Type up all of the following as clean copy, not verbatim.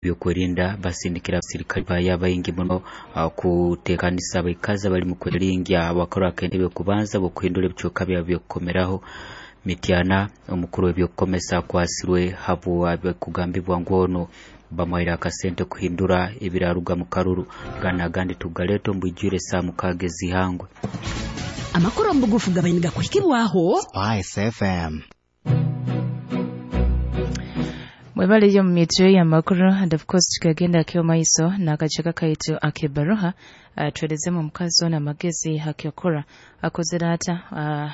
Byokwerinda basindikira abasirikale bayo abaingi muno kutekanisa abaikazi abali mu kweringya bakora akentebe kubanza bokuhindura ebicweka byabo byokukomeraho. Mityana, omukuru w'ebyokukomesa akwasirwe habwa kugambibwa ngu ono bamuhaire akasente kuhindura ebiraruga mu karuru. Gana agandi tugaleta omu bwijwire saa 6 ez'ihangwe. Amakuru omu bugufu gabaine gakuhikibwaho Spice FM. Mwebale mu mitwe y'amakuru, and of course tukagenda kyo maiso n'akaceka kaitu ak'ebaruha. Tuelezemu omukazi ono amagezi hakyokora akozere ata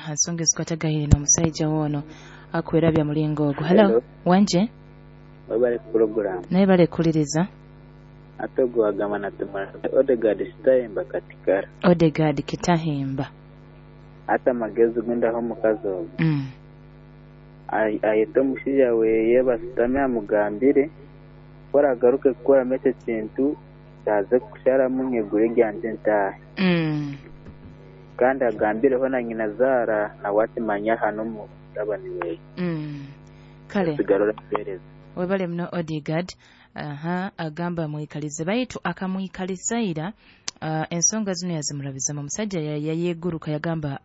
ensonga ezikwatagaine n'omusaija wono akwerabya mulingo ogwo. Hello. Hello. Wanje. Webale ku program. Naye bale kuliriza. Ate ogwo wagamba natumara Odegaard Kitahemba Katikara. Odegard Kitahemba. Ate amagezi gundaho omukazi ogwo. Ayete omushaija weye basutame amugambire ku aragaruke kukoramu ekyo kintu kyaze kusharamu nyegura eryangye ntaahe. Kandi agambireho na nyina zaara nawe akimanye aha n'omutabani weye. Kale. Osigara oramuheereza. Webale muno, Odigard. Aha, agamba amwikalize, baitu akamwikaliza ira, ensonga zino yazimurabizamu. Omusajja yayeguruka yagamba,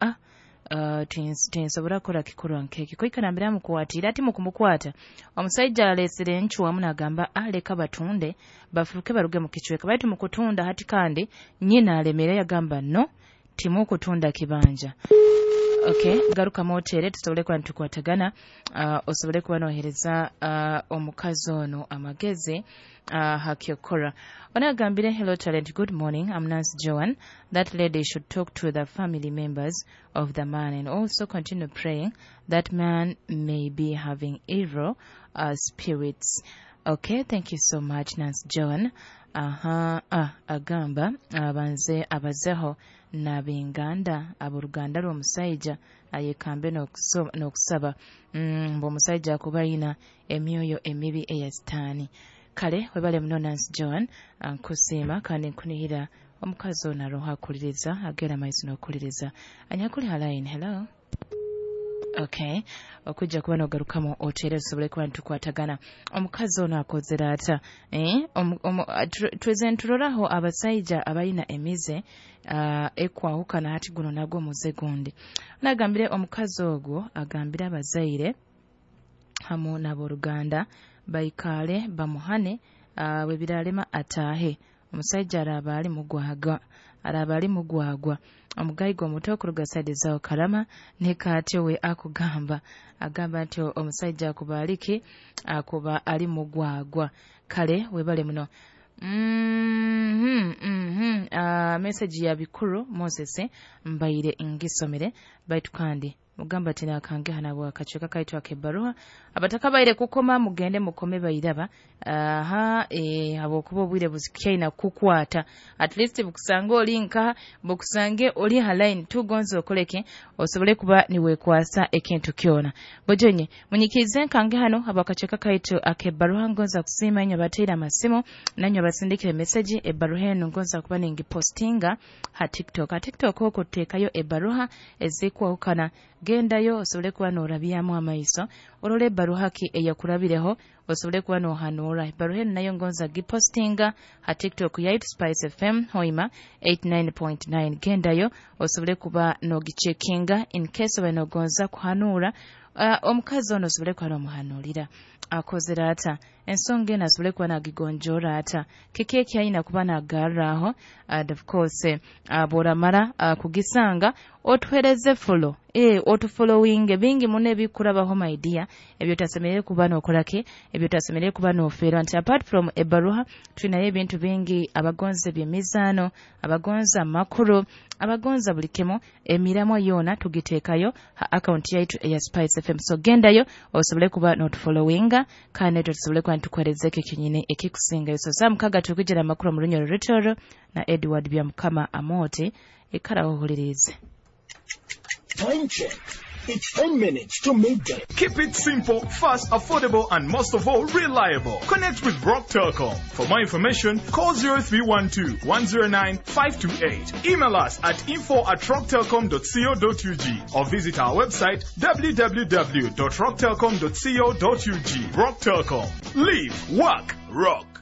tinsobora kukora kikorwa nkeki kwikara mbere amukwatira ati mukumukwata omusajja alesere encu wamu nagamba, leka batunde bafuruke baruge mu kicweka. Baitu mukutunda hati kandi nyina alemere yagamba, no, timukutunda kibanja. Okay, garuka motere tusobole kuba nitukwatagana, osobole kuba nohereza omukazi ono amagezi hakyokora. Onagambire, "Hello Talent, good morning, I'm Nancy Joan. That lady should talk to the family members of the man and also continue praying. That man may be having evil spirits." Okay, thank you so much, Nancy Joan. Aha, agamba abanze abazeho nabinganda aboluganda lw'omusajja ayekambe n'okusaba mbu omusajja akuba ayina emyoyo emibi eya sitaani. Kale webale muno, Nancy Joan. Nkusiima kandi nkunihira omukazi ono aroho akuliriza agenda maiso n'okuliriza anyakuli ha line. Hello. Okay, okujja kuba nogarukamu otere tusobole kuba nitukwatagana. Omukazi ono akozere ata, eh? Tweze nturoraho abasaija abalina emize ekwahukana. Hati guno nagwo muze gundi. Nagambire omukazi ogwo agambire abazaire hamu n'abooluganda baikaale bamuhane, bwe biralema ataahe. Omusajja araaba ali mugwagwa, araaba ali mugwagwa. Omugayiga omuto okuruga side zawo Karama nekaatyo we akugamba agamba nti omusajja akuba aliki akuba ali mugwagwa. Kale webale muno. Message ya Bikuru Moses mbaire ngisomere, baitu kandi mugamba ati nakange hana akacweka kaitu ak'ebbaruha. Abatakabaire kukoma mugende mukome bairaba. Aha, habwokuba obwire buzikyaina kukwata, at least bukusange oli nkaha, bukusange oli ha line tugonze okoleke osobole kuba niwekwasa ekintu kyona. Bojonye munyikirize nkange hano habwakacweka kaitu ak'ebbaruha. Ngonza kusiima inywe abateire amasimu nanywe abasindikire message. Ebbaruha eno ngonza kuba ningipostinga ha TikTok. Ha TikTok okwo tuteekayo ebbaruha ezikwahukana. Gendayo osobole kuba noorabyamu amaiso orole ebbaruha ki eyakurabireho osobole kuba nohanuura. Ebbaruha eno nayo ngonza gipostinga ha TikTok yaitu, Spice FM Hoima 89.9. Gendayo osobole kuba nogicheckinga in case oba nogonza kuhanuura omukazi ono osobole kuba nomuhanuurira akozere ata ensonga eno, asobole kuba nagigonjoora ata, kiki ekyayina kuba nagarraho. And of course, bw'oramara kugisanga otuhereze follow, otufollowing. Bingi muno ebikurabaho, my dear, ebyo otasemerere kuba nokoraki, ebyo otasemerere kuba nofeerwa nti apart from ebbaruha tulinayo ebintu bingi. Abagonza ebyemizaano, abagonza amakuru, abagonza buli kimu, emiramwa yoona tugiteekayo ha account yaitu eya Spice FM. So gendayo osobole kuba notufollowinga kandi netwe tusobole kuba nitukuherezeko ekinyini ekikusingayo. So saa 6 tukijira amakuru mu Runyoro Rutoro na Edward Byamukama Amooti. Ikaraho ohulirize. Time check. It's 10 minutes to midday. Keep it simple, fast, affordable, and most of all, reliable. Connect with Rock Telcom. For more information, call 0312 109 528. Email us at info@rocktelcom.co.ug or visit our website www.rocktelcom.co.ug. Rock Telcom. Live, work, rock.